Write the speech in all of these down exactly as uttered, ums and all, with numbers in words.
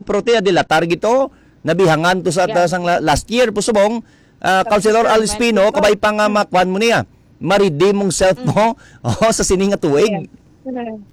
Pero ti, dilatar gito, nabihangan to sa Yeah. sang la-, last year, po subong, ah, Sa Councilor Alspino, kabay pa nga makuan mo niya. Ma-redeem mong self Mm. mo, oh, sa sini nga tuig. Yes.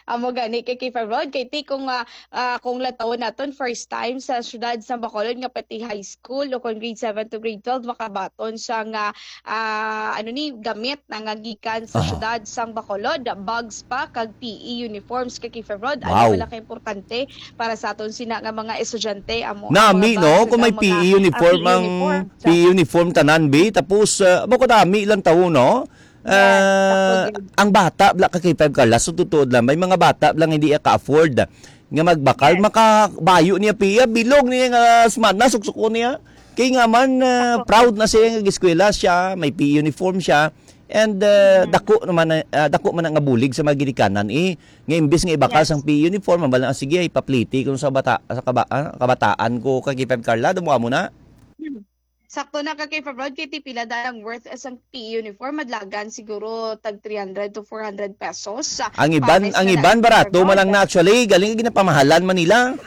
Amo gani kay K five Road, kay ti kung, ah, ah, kung latawon naton, first time sa siyudad sa Bacolod nga pati high school o kung grade seven to grade twelve makabaton siya nga, ah, ano ni, gamit na nga gikan sa Aha. siyudad sang Bacolod, bags pa kag P E uniforms kay K five Road. Ano Wow. wala ka importante para sa aton sina nga mga estudyante, amo ang Nami, mga no? bags Kung may kag mga, P E uniform ah, P E ang, uniform. P E uniform tanan, bi. Tapos, ah, amo kadami lang tawo, no? Yes, Ah, sakto gid. ang bata, bla, ka K five Carla, sa totoo lang, may mga bata lang hindi ka-afford nga magbakal, Yes. makabayo niya piya, bilog niya nga semana, suksuko niya. Kay nga man, ah, Sakto. proud na siya nga eskwela siya, may P E uniform siya, and, ah, Mm. dako naman na, ah, dako man nga bulig sa mga ginikanan, eh, nga imbis nga ibakal Yes. sang P E uniform, ang bala, "Ah, sige, ipapliti ko sa bata, sa kaba-, ah, kabataan ko, ka K five Carla, damo mo na." Hmm. Sakto na ka kay Fabron, kay ti pila da ang worth sang P E uniform, madlagan siguro tag three hundred to four hundred pesos. Sa Ang iban, pares ang na iban lang, barato man lang Fabron. na actually, galing ginapamahalan man nila.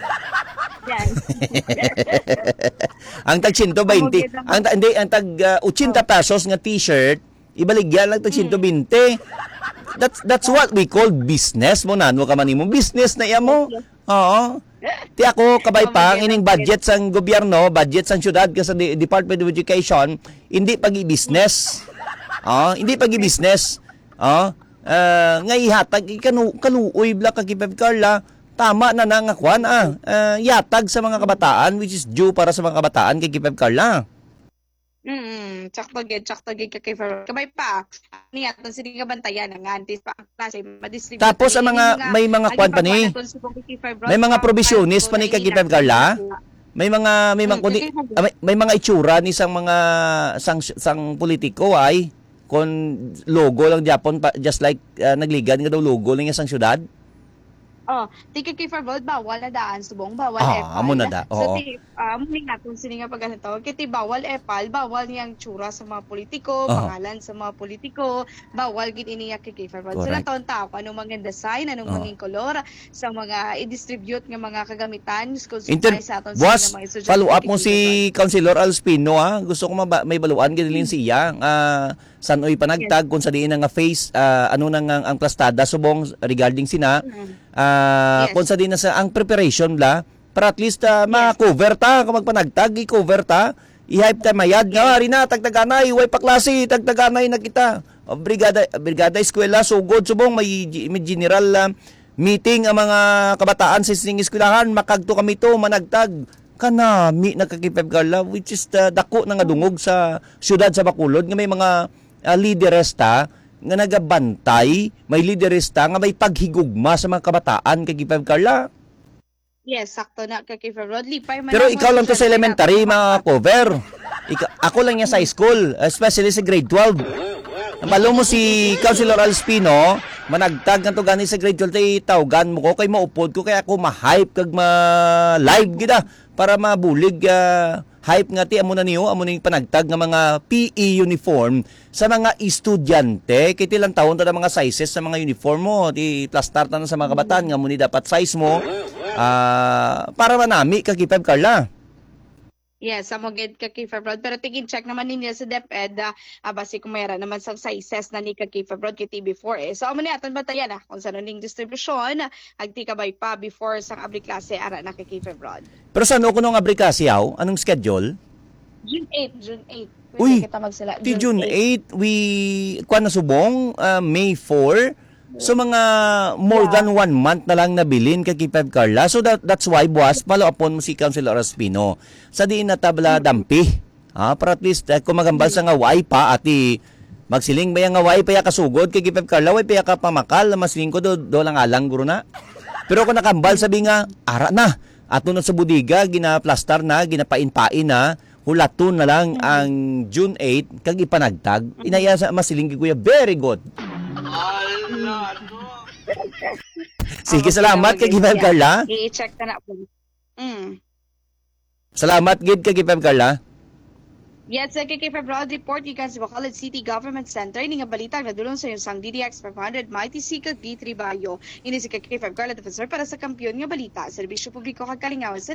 Yan. Ang tag siyento baynte, Amo gid ang ang ta-, hindi, ang tag, ah, ochenta Oh. pesos nga t-shirt, ibaligya lang tag Mm. siyento baynte. That's, that's what we call business mo, nano ka man imo. Business na iya mo. Yes, yes. Oo. Ti ako, kabay Amo pa, ang gid ining ang budget sang gobyerno, budget sang syudad, ka sa de-, Department of Education, hindi pag-i-business. Oh, hindi pag-i-business. Oh, ah, nga ihatag, ikanu-, kaluoy bla ka K five Carla, tama na na nga kwan, ah, ah, yatag sa mga kabataan, which is due para sa mga kabataan kay K five Carla. Mm, sakto gid, sakto gid ka K five Road. Kabay pa, ni aton sini nga bantayan nga antes pa ang klase, ma-distribute Tapos ang ni mga, mga may mga ang kwan pa ni, ipagkuha naton subong kay K five Road may mga sa provisiones pa ni kay K five Carla? May mga, may mga Mm, kundi, kay K five Road. ah, may, may mga itsura ni sang mga, sang, sang politiko ay, kon logo lang gyapon pa, just like, ah, nagligan nga daw logo lang niya sang syudad. Oh, ti kay K five Road, bawal na daan, subong, bawal Ah, epal. amo na da, So, oo. ti, ah, amo ni nga kung sini nga pagkatawag, kay ti bawal epal, bawal niyang tsura sa mga politiko, Aha. pangalan sa mga politiko, bawal gid ini nga kay K five Road. So, Correct. natawon ta kung anong mga design, anong Oo. mga kolor sa mga i-distribute nga mga kagamitan, kung Inter-, sa aton sa buwas, mga estudyante follow up kay mo K five Road. si Councilor Alspino, ha? Gusto ko maba-, may baluan gid Hmm. siya, ah, San-oy panagtag Yes. kung sa diin na nga phase, ah, ano na nga ang plastada subong regarding sina, Mm. ah, Yes. kung sa diin na sa ang preparation bla, para at least, ah, Yes. ma-cover ta, kung magpanagtag, i-cover ta, i-hype ta mayad nga, Yes. "Ari na, tagtaganay, way pa klase, tagtaganay na kita." O, brigada, brigada eskwela, sugod subong, may, may general, ah, meeting ang mga kabataan sa sining eskwelahan, makagto kami to, managtag. Kanami na ka K five Carla, which is the dako na nga dungog sa siyudad sa Bacolod nga may mga, ah, lideres ta nga nagabantay, may lideres ta nga may paghigugma sa mga kabataan ka K five Carla. Yes, sakto na ka K five Road. Lipay man Pero ako ikaw sa lang to sa social media. elementary, mga cover. Ika-, ako lang yan sa high school, especially sa grade twelve. Nabalo mo si Councilor Alspino, managtag nga to gani sa grade twelve, tay tawgan mo ko, kay maupod ko, kay ako ma-hype kag ma-live gid, ah, para mabulig, ah, hype nga ti, amo na niyo, amo ning panagtag nga mga P E uniform sa mga estudyante. Kay ti lantawon ta na mga sizes sa mga uniform mo, ti plastar ta na sa mga kabataan nga amo ni dapat size mo, ah, para manami ka, K five Carla. Yes, amo gid ka K five Road. Pero tigin check naman ninyo sa DepEd, ah, ah, basi kung mayra naman sang sizes na ni ka K five Road kay T B four eh. So, amo ni aton bantayan, ah, kung sano ning distribusyon, agti kabay pa before sang abri klase, ara na ka K five Road. Pero sano kuno ang abri klase, aw? Anong schedule? June eight, June eight. Pwede Uy, kita magsila ti June June eight. eight, we, kuwan na subong, ah, May four. So, mga more Yeah. than one month na lang nabilin kay K five Carla. So, that, that's why, buwas, follow upon mo si Councilor Ospino. Sa diin na tabla Mm. dampi. Ah, para at least, eh, kung magambal sa Mm. nga way pa, ati, magsiling ba yan nga way pa ya kasugod kay K five Carla, way pa ya kapamakal, masiling ko do, do lang alang, guro na. Pero kung nakambal, sabi nga, ara na, ato na sa bodega, ginaplastar na, ginapain-pain na, hulaton na lang Mm. ang June eight, kag ipanagtag. Mm. Inaya sa masiling kay Kuya, very good. Sige, Amo, salamat kay K five Carla. I-check ka na po. Mm. Salamat gid kay K five Carla. Yes, sa K K five Road Report, gikan sa Bacolod City Government Center, ini nga balita ang nadulong sa inyo sang D D X five hundred, Mighty C, kag D three Bayo. Ini si K K five Carla Defensor para sa Kampiyon nga Balita, Serbisyo Publiko kag Kalingawan sa